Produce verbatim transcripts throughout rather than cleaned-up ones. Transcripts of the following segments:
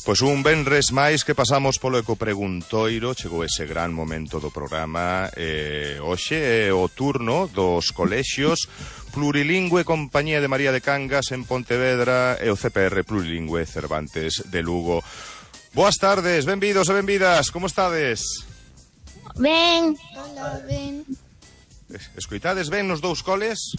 Pois un venres máis que pasamos polo Ecopreguntoiro, chegou ese gran momento do programa. eh, Hoxe é o turno dos colexios Plurilingüe Compañía de María de Cangas en Pontevedra e o C P R Plurilingüe Cervantes de Lugo. Boas tardes, benvidos e benvidas, como estades? Ben. Hola, ben. Escoitades ben nos dous coles?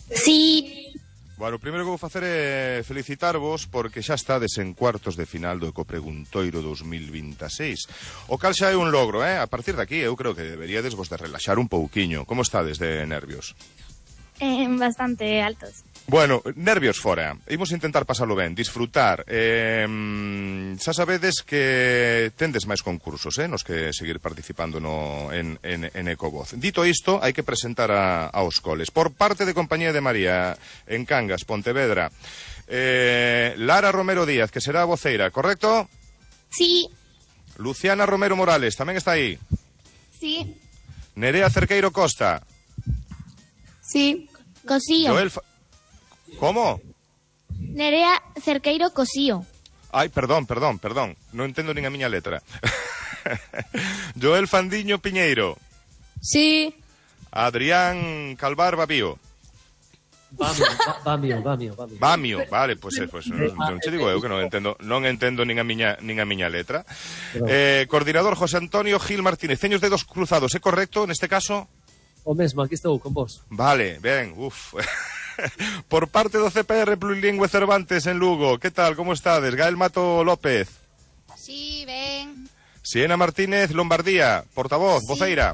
Sí. Bueno, o primeiro que vou facer é felicitarvos porque xa estades en cuartos de final do Ecopreguntoiro dos mil veintiséis. O cal xa é un logro, eh? A partir de aquí eu creo que deberíades vos de relaxar un pouquiño. Como estades de nervios? Eh, bastante altos. Bueno, nervios fora. Imos intentar pasalo ben, disfrutar. Eh, xa sabedes que tendes máis concursos, eh, nos que seguir participando no, en, en, en Ecovoz. Dito isto, hai que presentar a, aos coles. Por parte de Compañía de María en Cangas, Pontevedra, eh, Lara Romero Díaz, que será a voceira, correcto? Sí. Luciana Romero Morales, tamén está aí. Sí. Nerea Cerqueiro Costa. Sí. Cosío. Joel Fa... Como? Nerea Cerqueiro Cosío. Ai, perdón, perdón, perdón. Non entendo nin a miña letra. Joel Fandiño Piñeiro. Sí. Adrián Calvar Babío. Bamio, Bamio, Bamio, Bamio. Bamio, vale, pois pues, pues, non che digo eu que non entendo, non entendo nin a miña nin a miña letra. Eh, coordinador José Antonio Gil Martínez. Teño os dedos cruzados, é correcto neste caso? O mesmo, aquí estou con vos. Vale, ben, uf. Por parte do C P R Plurilingüe Cervantes en Lugo, que tal, como estades? Gael Mato López. Sí, ben. Siena Martínez Lombardía, portavoz, sí. Voceira.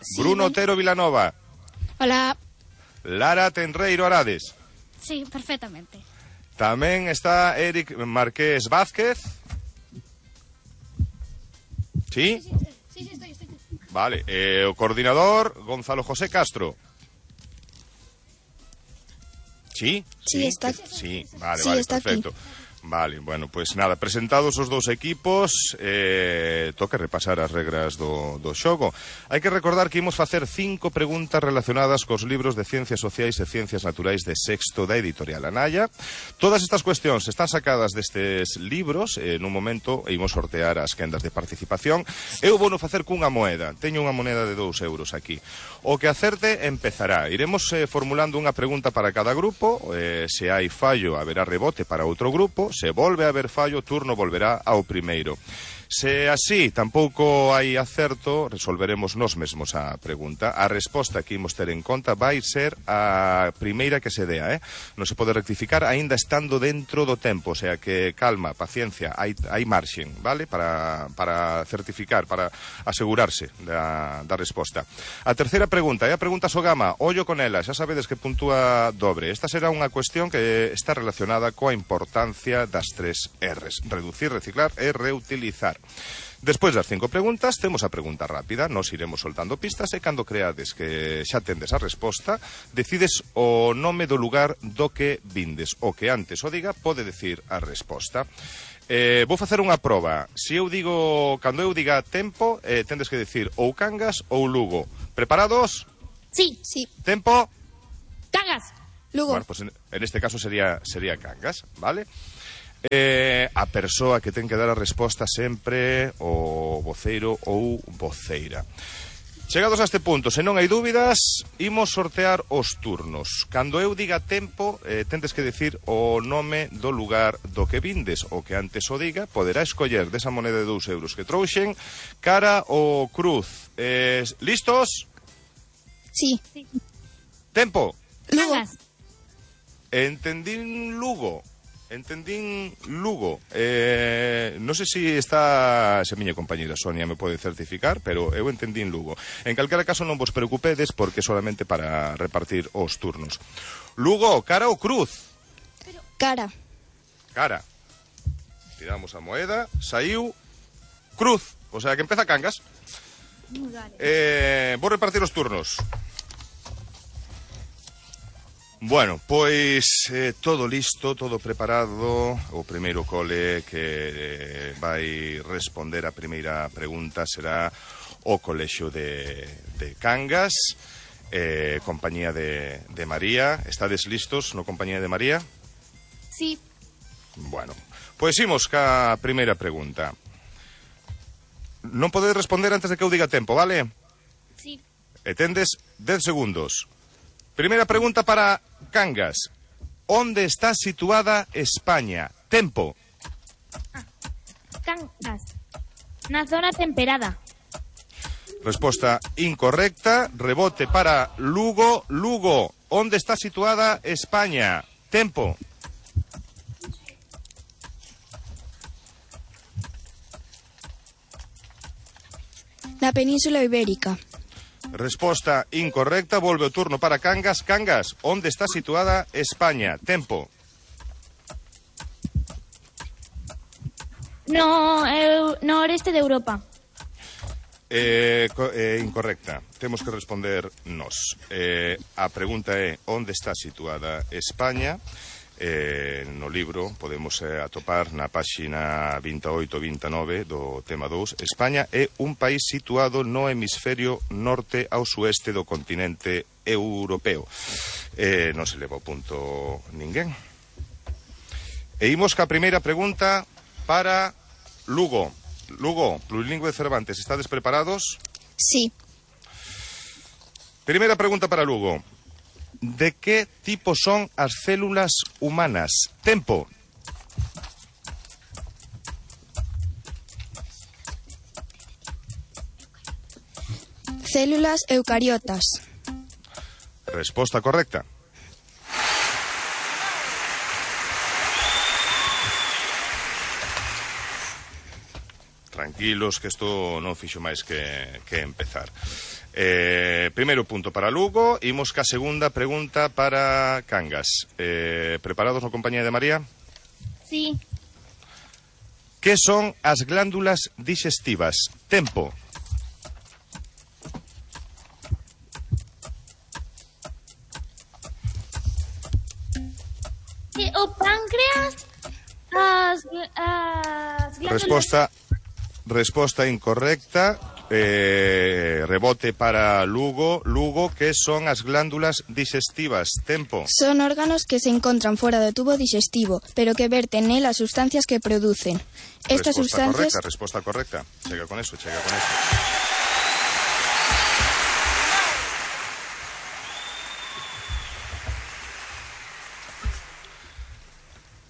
Sí, Bruno ben. Otero Vilanova. Hola. Lara Tenreiro Arades. Sí, perfectamente. Tamén está Eric Marqués Vázquez. ¿Sí? Sí, sí, sí, sí estoy, estoy. Vale, eh, o coordinador Gonzalo José Castro. ¿Sí? Sí, sí está. Sí, vale, sí, vale, está perfecto. Aquí. Vale, bueno, pues nada, presentados os dous equipos, eh, toca repasar as regras do, do xogo. Hai que recordar que imos facer cinco preguntas relacionadas cos libros de Ciencias Sociais e Ciencias Naturais de sexto da editorial Anaya. Todas estas cuestións están sacadas destes libros, eh, nun momento imos sortear as quendas de participación. Eu vou no facer cunha moeda, teño unha moneda de dous euros aquí. O que acerte empezará. Iremos eh, formulando unha pregunta para cada grupo, eh, se hai fallo haberá rebote para outro grupo. Se volve a haber fallo, o turno volverá ao primeiro. Se así tampouco hai acerto, resolveremos nós mesmos a pregunta. A resposta que imos ter en conta vai ser a primeira que se dea, eh? Non se pode rectificar aínda estando dentro do tempo, o sea que calma, paciencia, hai, hai marxen, vale? Para, para certificar, para asegurarse da, da resposta. A terceira pregunta é a pregunta Sogama, ollo con ela, xa sabedes que puntúa dobre. Esta será unha cuestión que está relacionada coa importancia das tres R's, reducir, reciclar e reutilizar. Despois das cinco preguntas, temos a pregunta rápida. Nos iremos soltando pistas e cando creades que xa tendes a resposta, decides o nome do lugar do que vindes. O que antes o diga pode decir a resposta. Eh, vou facer unha proba. Se eu digo, cando eu diga tempo, eh, tendes que decir ou Cangas ou Lugo. Preparados? Sí. Sí. Tempo? Cangas. Lugo. Bueno, pues en, en este caso sería, sería Cangas, vale? Eh, a persoa que ten que dar a resposta sempre o voceiro ou voceira. Chegados a este punto, se non hai dúbidas, imos sortear os turnos. Cando eu diga tempo, eh, tendes que decir o nome do lugar do que vindes. O que antes o diga, poderá escoller desa moneda de dous euros que trouxen cara ou cruz. Eh, listos? Sí. Tempo. Lugo. Cangas. Entendín Lugo. Entendín Lugo. Eh, non sei se está se a miña compañera Sonia me pode certificar, pero eu entendín Lugo. En calquera caso non vos preocupedes porque solamente para repartir os turnos. Lugo, cara ou cruz? Cara. Cara. Tiramos a moeda, saiu cruz. O sea que empeza Cangas. Eh, vou repartir os turnos. Bueno, pois eh, todo listo, todo preparado. O primeiro cole que eh, vai responder a primeira pregunta será o colexio de, de Cangas, eh, compañía de, de María. Estades listos no compañía de María? Sí. Bueno, Pois imos ca primeira pregunta. Non podedes responder antes de que eu diga tempo, vale? Sí. E tendes dez segundos. Primeira pregunta para Cangas. Onde está situada España? Tempo. Cangas. Na zona temperada. Resposta incorrecta. Rebote para Lugo. Lugo. Onde está situada España? Tempo. Na Península Ibérica. Resposta incorrecta. Volve o turno para Cangas. Cangas. Onde está situada España? Tempo. No, eu, no oeste de Europa. Eh, co- eh, incorrecta. Temos que responder nós. Eh, a pregunta é onde está situada España. Eh, no libro podemos eh, atopar na páxina veintioito veintinueve do tema dous. España é un país situado no hemisferio norte ao sueste do continente europeo. Eh, non se leva o punto ninguén. E imos ca primeira pregunta para Lugo. Lugo, plurilingüe de Cervantes, ¿estades preparados? Sí. Primeira pregunta para Lugo. De que tipo son as células humanas? Tempo. Células eucariotas. Resposta correcta. Tranquilos, que isto non fixo máis que, que empezar. Eh, primeiro punto para Lugo. Imos ca segunda pregunta para Cangas. Eh, preparados na compañía de María? Sí. Que son as glándulas digestivas? Tempo. Sí, o páncreas, as, as glándulas... Resposta resposta incorrecta. Eh, rebote para Lugo. Lugo, que son as glándulas digestivas? Tempo. Son órganos que se encontran fuera do tubo digestivo, pero que verten nel as sustancias que producen. Estas Resposta sustancias... correcta, resposta correcta. Chega con eso, chega con eso.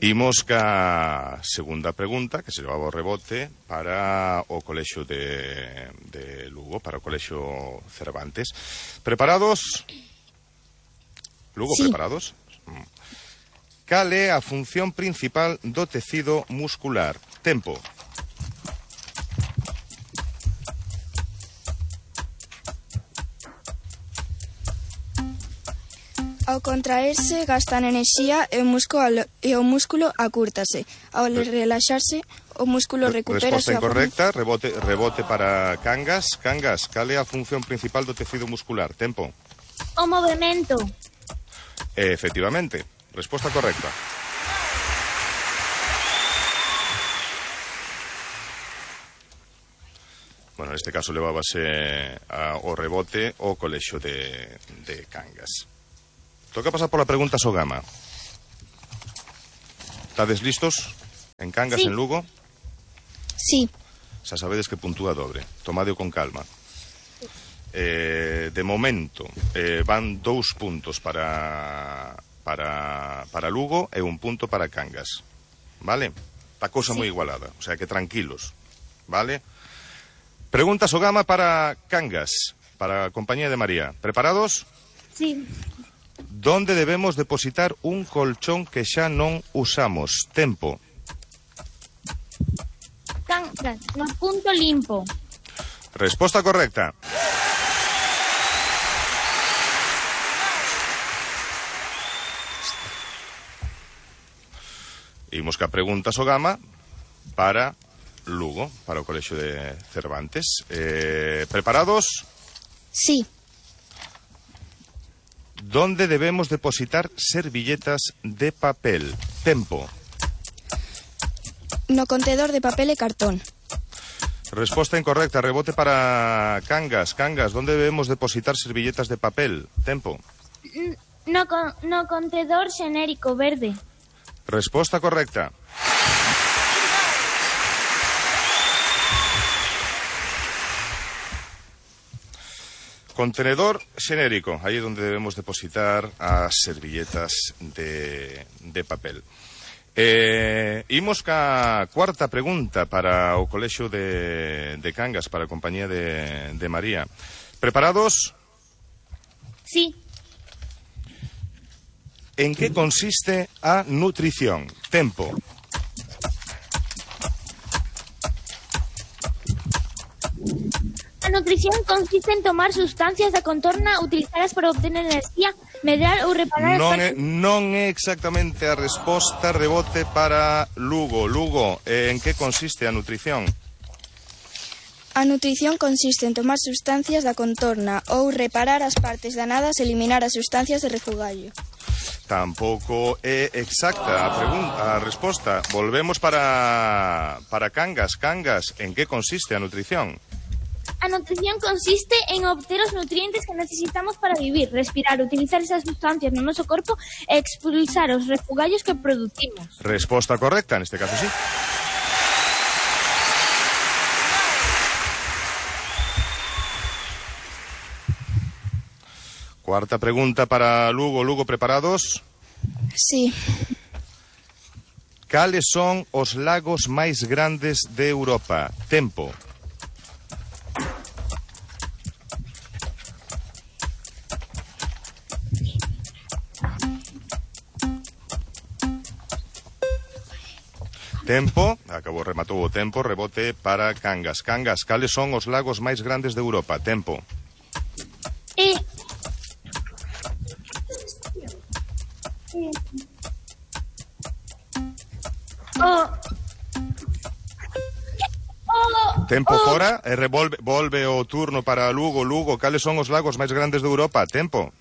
Imos ca segunda pregunta, que se levaba o rebote para o colexio de, de Lugo, para o colexio Cervantes. Preparados? Lugo, Sí. preparados? Mm. Cal é a función principal do tecido muscular? Tempo. Ao contraerse, gastan enerxía e o músculo, e o músculo acúrtase. Ao relaxarse, o músculo recupera a Resposta súa forma. incorrecta, rebote, rebote para Cangas. Cangas, cal é a función principal do tecido muscular? Tempo. O movimento. Eh, efectivamente, resposta correcta. Bueno, neste caso levábase a, o rebote o colexio de, de Cangas. Toca pasar pola pregunta Sogama. Estades listos? En Cangas, Sí. en Lugo? Sí. Xa sabedes que puntúa dobre. Tomadeo con calma. Eh, de momento, eh, van dous puntos para, para, para Lugo e un punto para Cangas. Vale? Está cousa moi igualada. O sea que tranquilos. Vale? Pregunta Sogama para Cangas, para a compañía de María. ¿Preparados? Sí. ¿Dónde debemos depositar un colchón que xa non usamos? Tempo. Cangas. No punto limpo. Resposta correcta. Imos ca pregunta Sogama para Lugo, para o colexio de Cervantes. Eh, ¿Preparados? Sí. ¿Dónde debemos depositar servilletas de papel? Tempo. No contedor de papel e cartón. Resposta incorrecta. Rebote para Cangas. Cangas, ¿dónde debemos depositar servilletas de papel? Tempo. No, con, no contedor xenérico verde. Resposta correcta. Contenedor xenérico, aí é onde debemos depositar as servilletas de, de papel. Eh, imos ca cuarta pregunta para o Colexio de, de Cangas, para a compañía de, de María. Preparados? Sí. En que consiste a nutrición? Tempo. A nutrición consiste en tomar sustancias da contorna, utilizadas para obtener enerxía, medrar ou reparar as Non é, partes... non é exactamente a resposta, rebote para Lugo. Lugo, eh, en que consiste a nutrición? A nutrición consiste en tomar sustancias da contorna ou reparar as partes danadas e eliminar as sustancias de refugallo. Tampouco é exacta a pregunta, a resposta. Volvemos para para Cangas. Cangas, en que consiste a nutrición? A nutrición consiste en obter os nutrientes que necesitamos para vivir, respirar, utilizar esas sustancias no noso corpo e expulsar os refugallos que producimos. Resposta correcta, neste caso sí. Cuarta pregunta para Lugo. Lugo, preparados? Sí. Cales son os lagos máis grandes de Europa? Tempo. Tempo, acabou, rematou o tempo, rebote para Cangas. Cangas, cales son os lagos máis grandes de Europa? Tempo. E... O... O... Tempo o... fora, e revolve, volve o turno para Lugo. Lugo, cales son os lagos máis grandes de Europa? Tempo.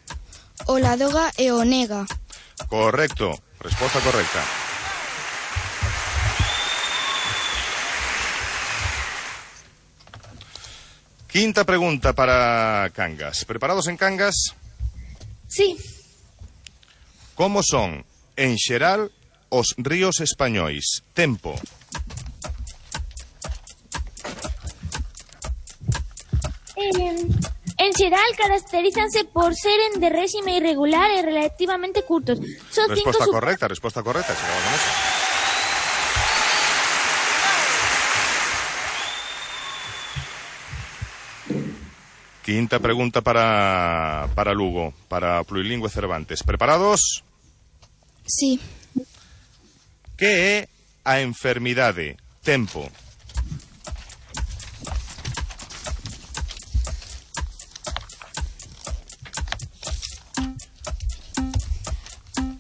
O Ladoga e o Nega. Correcto, resposta correcta. Quinta pregunta para Cangas. ¿Preparados en Cangas? Sí. Como son, en xeral, os ríos españois? Tempo. Eh, en xeral caracterízanse por seren de réxime irregular e relativamente curtos. Son cinco Resposta sub- correcta, resposta correcta. Chegamos con eso. Quinta pregunta para, para Lugo, para Plurilingüe Cervantes. ¿Preparados? Sí. Que é a enfermidade? Tempo.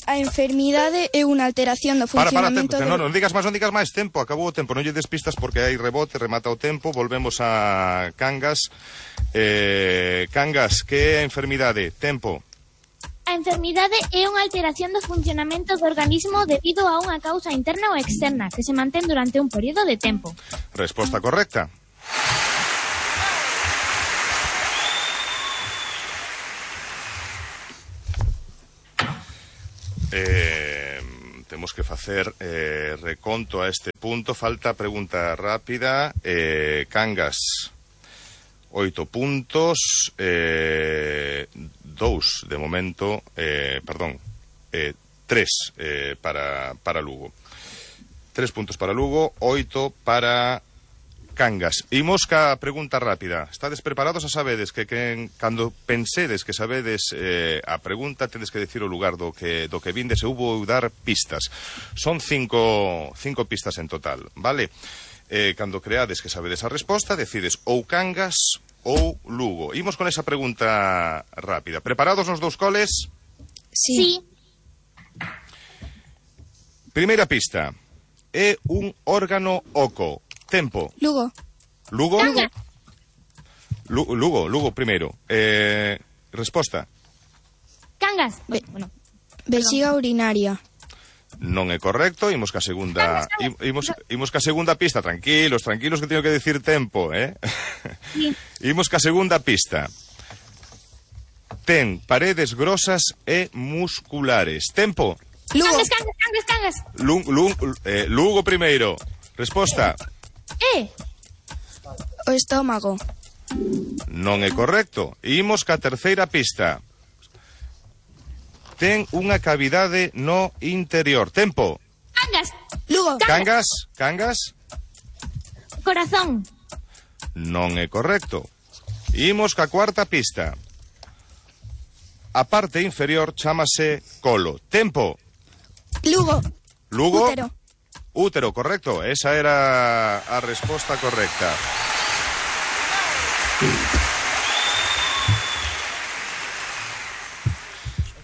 A enfermidade é unha alteración do Para, para, funcionamento tempo. do... Non, non digas máis, non digas máis. Tempo, acabou o tempo. Non lle des pistas porque hai rebote, remata o tempo. Volvemos a Cangas. Eh, Cangas, que é a enfermidade? Tempo. A enfermidade é unha alteración do funcionamento do organismo debido a unha causa interna ou externa que se mantén durante un período de tempo. Resposta correcta. Eh, temos que facer eh, reconto a este punto. Falta pregunta rápida. eh, Cangas, oito puntos, eh, dous de momento, eh, perdón, eh, tres eh, para, para Lugo. Tres puntos para Lugo, oito para Cangas. Imos ca pregunta rápida. Estades preparados? A sabedes que, que cando pensedes que sabedes eh, a pregunta, tedes que decir o lugar do que, do que vindes e hubo dar pistas. Son cinco, cinco pistas en total, vale? Eh, cando creades que sabedes a resposta, decides ou Cangas ou Lugo. Imos con esa pregunta rápida. Preparados nos dous coles? Sí. Sí. Primeira pista. É un órgano oco. Tempo. Lugo. Lugo? Cangas. Lu- Lugo, Lugo primeiro. Eh, resposta. Cangas. Be- Bueno, Vexiga urinaria. Non é correcto. Imos ca segunda, im- imos, imos ca segunda pista. Tranquilos, tranquilos que teño que decir tempo, eh? sí. Imos ca segunda pista. Ten paredes grosas e musculares. Tempo. Lugo. Cangas, cangas, cangas, cangas. Lu, Lu, eh, Lugo primeiro. Resposta. E. O estómago. Non é correcto. Imos ca terceira pista. Ten unha cavidade no interior. Tempo. Cangas. Lugo. Cangas, cangas. Corazón. Non é correcto. Imos ca cuarta pista. A parte inferior chámase colo. Tempo. Lugo. Lugo. Útero. Útero, correcto. Esa era a resposta correcta.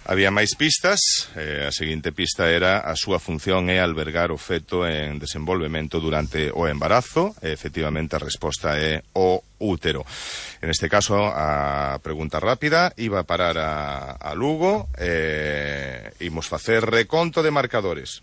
Había máis pistas. Eh, a seguinte pista era a súa función é albergar o feto en desenvolvemento durante o embarazo. E, efectivamente, a resposta é o útero. En este caso, a pregunta rápida iba a parar a, a Lugo. Eh, imos facer reconto de marcadores.